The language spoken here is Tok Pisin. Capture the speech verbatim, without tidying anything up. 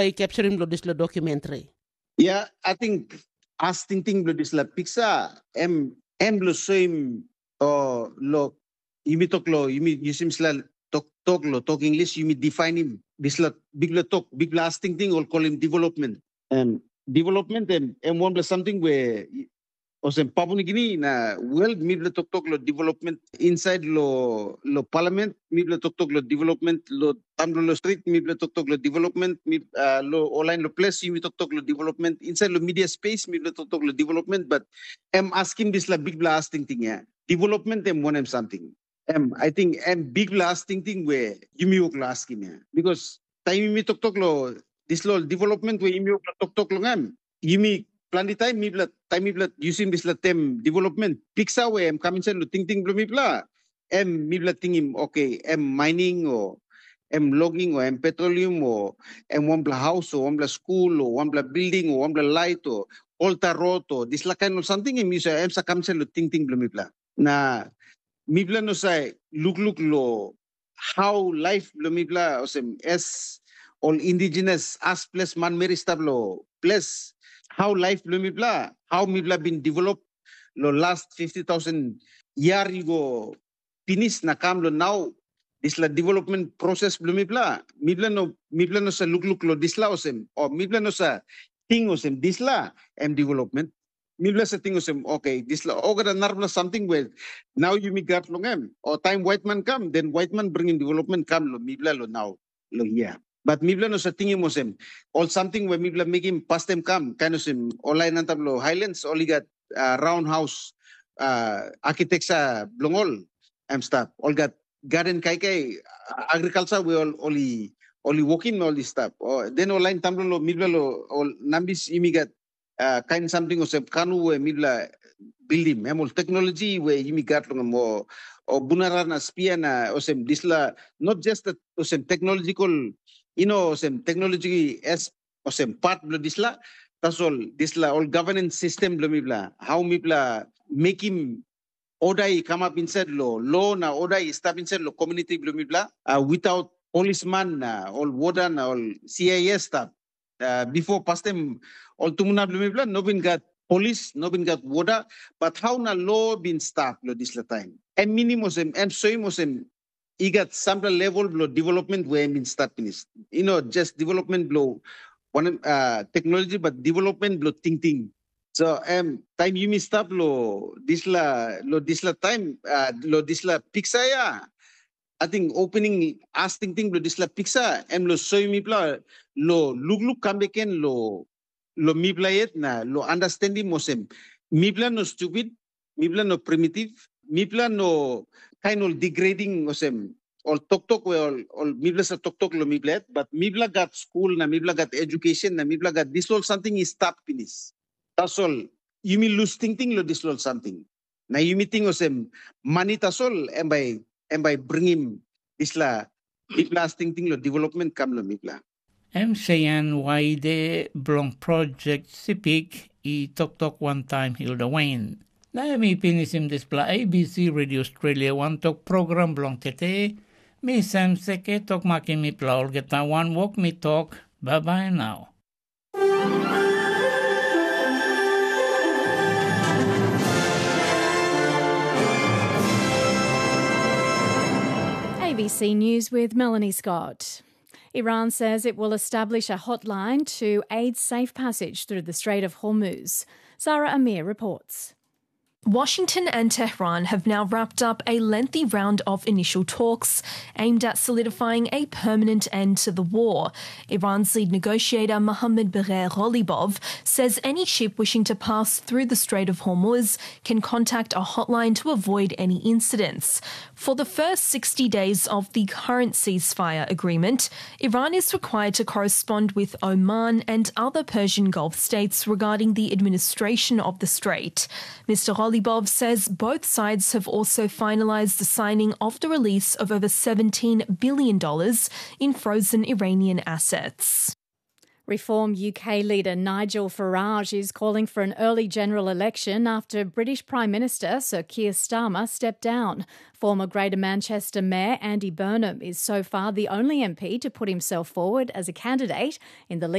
i capturim lo dispela documentary? Ya, ating as tingting bilong dispela piksa, em em bilong soim o lo yumi tok lo yumi yusim sla tok tok lo tok English, yumi definim dispela bikpela tok, bikpela as tingting ol kolim development. Em development em em wanpela samting we olsem Papua Nugini na world mipela toktok lo development inside lo lo parliament, mipela toktok lo development lo tamdolo street, mipela toktok lo development, mip, uh, lo online lo place yumi toktok lo development, inside lo media space mipela toktok lo development, but em askim dispela bikpela as tingting ya. Development em wanem samting? Em, I think em bikpela as tingting we yumi wok lo askim ya. Because taim yumi toktok lo dispela development we yumi wok lo toktok long em, yumi planti taim mipela taim mipela yusim dispela tem development piksa we em kam insait lo tingting bilong mipela, em mipela tingim, okay, em mining o em logging o em petroleum o em wanpela haus o wanpela skul o wanpela bilding o wanpela lait o olta rot o dispela kain ol samting em yu sa em sa kam insait lo tingting bilong mipela. Na mipela no sa lukluk lo hau laip bilong mipela olsem es ol indigenous as ples manmeri i stap lo ples, hau laip bilong mipela, hau mipela bin develop lo last fifty thousand yia i go pinis na kam lo nau, dispela development proses bilong mipela, mipela no mipela no sa lukluk lo dispela olsem, o mipela no sa ting olsem dispela em development. Mipela sa ting olsem, okay, dispela olgeta narapela samting we nau yumi gat long em, o taim waitman kam, den waitman bringim development kam lo mipela lo nau, lo hia. But mipela no sa tingim olsem, ol samting we mipela mekim pastem kam, kain olsem, ol lain antap lo Highlands, ol i gat uh, roundhouse uh, architecture bilong ol, em stap. Ol gat garden kaikai, agriculture we ol ol i ol i wokim na ol i stap. O, den ol lain tamlo lo mipela lo ol nambis yumi gat uh, kain samting olsem kanu we mipela bildim, em ol teknologi we yumi gat long em, o, o bunara na spia na olsem disla, not just that olsem technological, you know, olsem technology as olsem part bilong disla, tasol disla ol governance system bilong mipela, how mipela mekim oda i kamap insait lo lo na oda i stap insait lo komuniti bilong mipela, uh, without polisman na ol woda na ol C I S stap. Uh, before pastem ol tumuna bilong mipela no bin gat polis, no bin gat woda, but how na lo bin stap lo dispela taim? Em minim olsem, em soim olsem i gat sampela level bilong development we em bin stap pinis. You know, just development bilong wanem uh, technology, but development bilong tingting. So em taim yumi stap lo disla lo disla taim uh, lo disla piksa ya, ating opening as tingting bilong disla piksa em lo soim mipela lo lukluk kam beken lo lo mipela yet na lo understandim olsem mipela no stupid, mipela no primitive, mipela no kain ol degrading olsem ol toktok we ol, ol mipela sa toktok lo mipela yet, but mipela gat skul na mipela gat education na mipela gat dispela ol samting i stap pinis. Tasol yumi lus tingting lo dispela ol samting. Na yumi ting olsem mani tasol em bai em bai bringim dispela bikpela as tingting lo development kam lo mipela. Em Sean Waide bilong projek Sipik i toktok wantaim Hilda Wain. Na em i pinisim dispela A B C Radio Australia wantok program bilong tete. Mi Sam Seke tok makim mipela olgeta wanwok mi tok, bye bye now. A B C News with Melanie Scott. Iran says it will establish a hotline to aid safe passage through the Strait of Hormuz. Sarah Amir reports. Washington and Tehran have now wrapped up a lengthy round of initial talks aimed at solidifying a permanent end to the war. Iran's lead negotiator Mohammad Bagher Ghalibov says any ship wishing to pass through the Strait of Hormuz can contact a hotline to avoid any incidents. For the first sixty days of the current ceasefire agreement, Iran is required to correspond with Oman and other Persian Gulf states regarding the administration of the strait. Mister Ghalibov says both sides have also finalized the signing of the release of over seventeen billion dollars in frozen Iranian assets. Reform U K leader Nigel Farage is calling for an early general election after British Prime Minister Sir Keir Starmer stepped down. Former Greater Manchester Mayor Andy Burnham is so far the only M P to put himself forward as a candidate in the